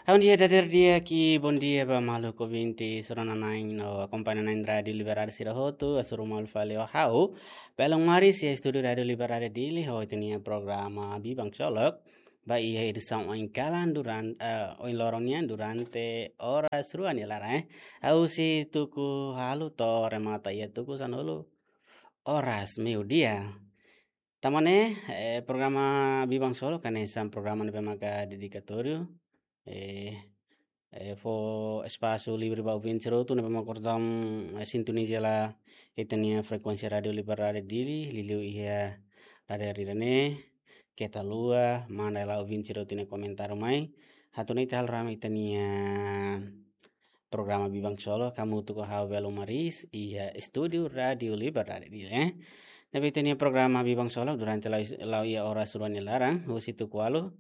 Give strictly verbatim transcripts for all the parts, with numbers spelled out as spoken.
Ha'u-nia dadeer di'ak i bondia ba maluk ouvinte sira-nia na'in no akompaña na'in Rádiu Liberdade sira hotu, hasoru malu fali ho ha'u, Belun Maris, iha estúdiu Rádiu Liberdade Dili, ho ita-nia programa Biban Ksolok, ba iha edisaun oin kalan duran-, eh, oin loron nian durante oras rua nia laran, eh. Ha'u husi tuku halu to'o remata iha tuku sanulu oras meiudia. Tanba ne'e, eh, programa Biban Ksolok hanesan programa ne'ebé maka dedikatóriu, eh, eh, fó espasu livre ba ouvinte sira hotu ne'ebé maka orsida, eh, sintoniza hela ita-nia frekuénsia Rádiu Liberdade Dili, liuliu iha dadeer ida-ne'e, keta haluha manda hela ouvinte sira hotu nia komentáriu mai, atu nune'e ita halo rame ita-nia programa Biban Ksolok, hamutuk ho ha'u Belun Maris, iha estúdiu Rádiu Liberdade Dili, eh. Ne'ebé ita-nia programa Biban Ksolok durante la'o, la'o iha oras rua nia laran, husi tuku ualu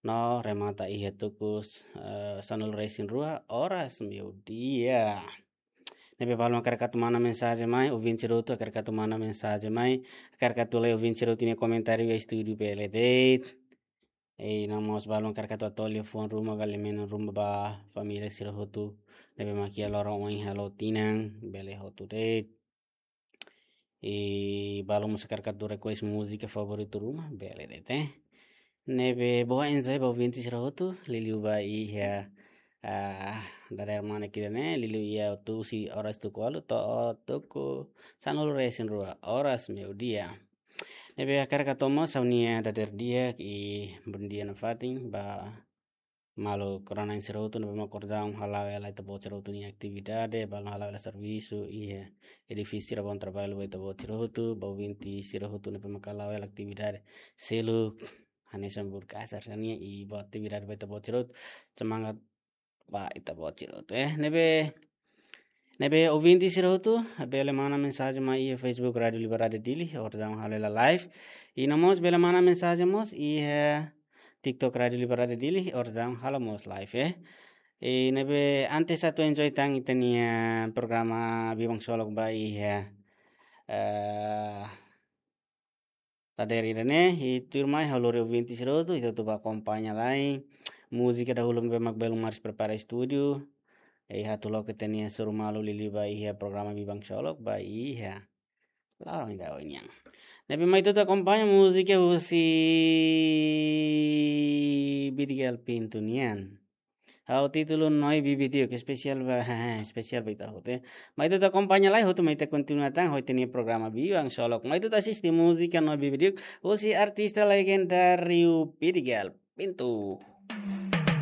no remata iha tuku, eh, sanulu resin rua oras meiudia. Ne'ebé balu hakarak atu manda mensajen mai, ouvinte sira hotu hakarak atu manda mensajen mai, hakarak atu lee ouvinte sira hotu nia komentáriu iha estúdiu bele de'it. I no mós balu hakarak atu hatoli liafuan ruma ka liafuan ruma ba família sira hotu ne'ebé mak iha loron oin halo tinan, bele hotu de'it. I balu mós hakarak atu request múzika favoritu ruma, bele de'it, eh. Ne'ebé boa enjoy ba ouvinte sira hotu, liuliu ba iha, ah, dadeer mane kira ne'e, liuliu iha tuku husi oras tuku ualu to'o tuku sanulu resin rua oras meiudia. Ne'ebé hakarak atu hatán mós ha'u-nia dadeer di'ak i bondia nafatin ba maluk rona-na'in sira hotu ne'ebé mak orsida hala'o hela ita-boot sira hotu nia atividade, balu hala'o hela servisu iha edifísiu sira, bom trabalho ba ita-boot sira hotu, ba ouvinte sira hotu ne'ebé mak hala'o hela atividade seluk, hanesan burkasar sira-nian, i boa atividade ba ita-boot sira hotu, semangat ba ita-boot sira hotu, eh. Ne'ebé, ne'ebé ouvinte sira hotu bele manda mensajen mai iha Facebook Rádiu Liberdade Dili, orsida halo hela live. I no mós bele manda mensajen mós iha TikTok Rádiu Liberdade Dili, orsida halo mós live, eh. I ne'ebé antes atu enjoy tan ita-nia programa Biban Ksolok ba iha, eh, dadeer ida-ne'e, i tuirmai ha'u lori ouvinte sira hotu, ita atu bá akompaña lai múzika dahuluk ne'ebé mak Belun Maris prepara estúdiu. I atu loke ita-nia hasoru malu liuliu ba iha programa Biban Ksolok ba iha loron ida oin nian. Ne'ebé mai ita atu akompaña múzika husi Bidigal Pintu nian. Ho títulu Noi Bibi Diuk, espesiál ba, espesiál ba ita hotu, eh. Mai ita atu akompaña lai hotu, mai ita kontinua tan ho ita-nia programa Biban Ksolok. Mai ita atu asiste múzika Noi Bibi Diuk, husi artista legendáriu Bidigal Pintu.